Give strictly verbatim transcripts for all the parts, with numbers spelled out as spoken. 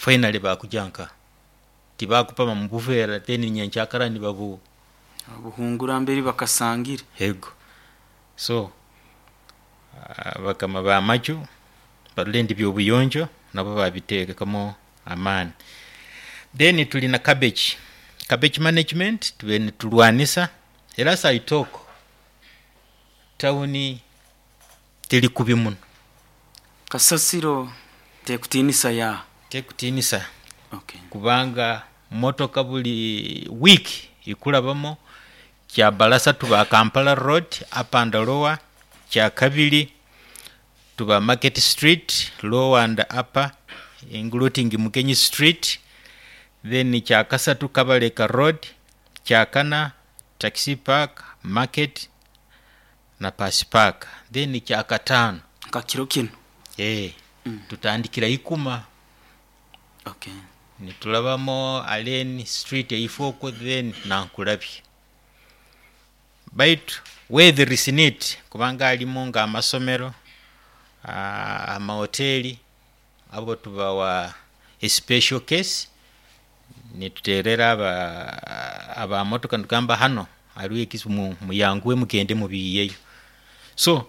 Finally bakujanka tibakupama mubufera, then nyenkyakara nibabu Buhungura mberi bakasangire. Ego. So bakama bamaju barole ndi byobuyonjo nabo babitekamo amaani. Then tulina cabbage cabbage management, tube nitulwanisa. Era as I talk, tawuni teri kubi muno. Kasasiro tekutinisa ya Tekutinisa. Okay. Kubanga motoka buli week ikurabamo. Kyabalasa tuba Kampala Road upper and lower, kyakabiri tuba Market Street lower and upper, including Mugenyi Street, then kyakasatu Kabaleka Road, kyakana Taxi Park, Market na Pasi Park, then kyakataano Nka kiro kinu. eh Mm. tutandikira Ikuma. Okay. Nitulabamo Allen Street eifoko, then Nankulabye. Baitu where there is need, kubanga alimu nga amasomero, ah, amahoteli, abo tubawa a special case, nituterera aba abamotoka nitugamba hano hariho ekisi, mu- muyanguwe mugende mubiiyeyo. So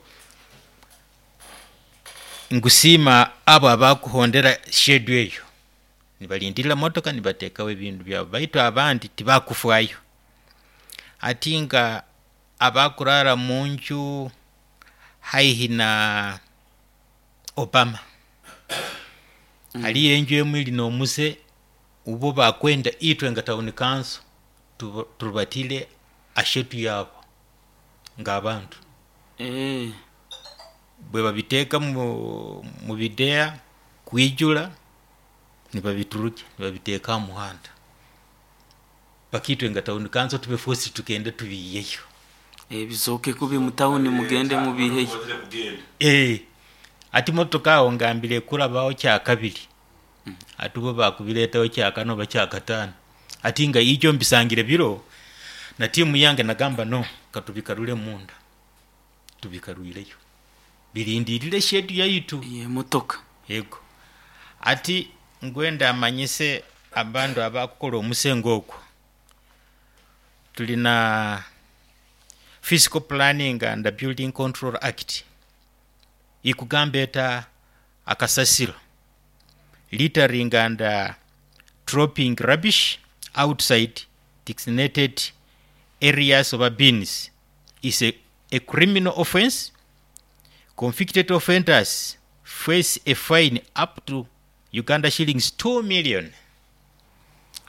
nkusiima abo abakuhondera schedule eyo, nibalindirira motoka nibateekaho ebintu byabo, baitu abandi tibakufwayo. Ati nga abakurara munju haihi na Obama, mm. haliyo enju emu eri n'omuse ubo bakwenda itwe nga town council turubatire ashetu yabo ng'abantu Eh. bwe babiteeka mu, mu bideya kwijula, nibabiturukya nibabiteeka aha muhanda, bakitwe nga town council tube forced tugende tubiiyeyo. Eh, bizooke kubi mu tawuni, mugende mubiheyo. Eh, ati motoka awo ngambire kurabaho kyakabiri, ati bo bakubireetaho kyakana oba kyakataano. Ati nga ijo mbisangire biro na tiimu yange, nagamba no katubikarure munda, tubikarwireyo birindirire schedule yaitu. Ye motoka. Yego. Ati ngwenda amanyise abandu abakukola omusengo ogwo, tulina Physical Planning and Building Control Act ikugamba eta akasasiro, littering and uh, dropping rubbish outside designated areas of bins is a, a criminal offense. Convicted offenders face a fine up to Uganda shillings two million.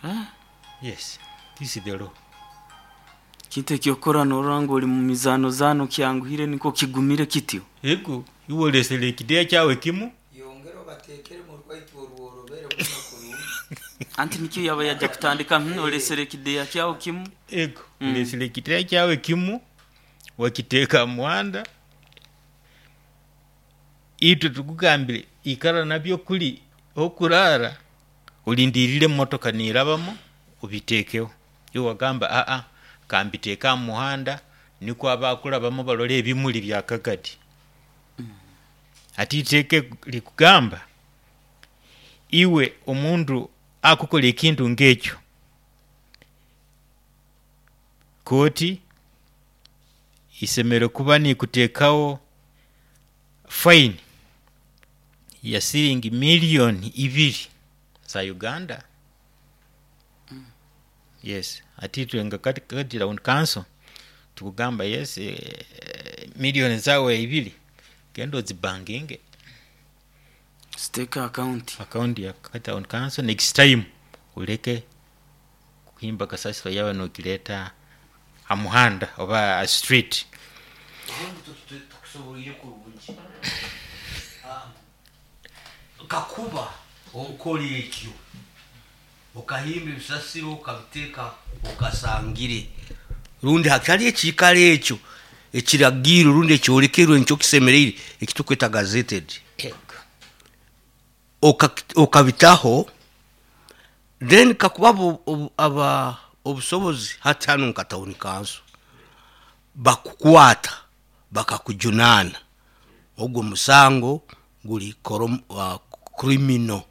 Ah. Yes, this is the law. Kintu ekyokora norora ngu oli mu mizaano zaano kyanguhire niko kigumire kityo. Ego, iwolesere ekideya kyawe kimu. Yongera obateekere mu rwaitu orworobere muno kurungi. Anti nikyo yaba yajja kutandika, hmm, olesere ekideya kyawo kimu. Ego, Mm. olesere ekideya kyawe kimu wakiteeka muhanda, itwe tukugambire ikara nabyo kuli okurara olindirire motoka nirabamo obiteekeho. Iwe wagamba aa kambiteeka aha muhanda nikwo abakurabamo barole ebimuli bya kagadi. Ati iteeka likugamba iwe omundu akukola ekintu ng'ekyo, kooti isemere kuba nikuteekaho fine ya siringi miliyoni ibiri za Uganda. Yes, ati itwe nga kati kati town council tukugamba yes, eh, miliyoni zawe ibiri genda ozibanginge. Ziteeke akawunti. Account ya kati town council. Next time uleke kuhimba kasasiro yawe nokileta amuhanda oba a street. Obundi tutu- tukusoboire kurungi. Ah, kakuba okora ekyo, okahimba ebisasiro okabiteeka okasangire rundi hatari ekiikaro ekyo ekiragiro rundi ekyolekerwe nikyo kisemereire ekitukweta gazetted, Oka- okabitaho, then kakuba abo- obu- aba obusobozi hati hano nka town council bakukwata bakakujunaana, ogwo musango guli korom- uh, criminal.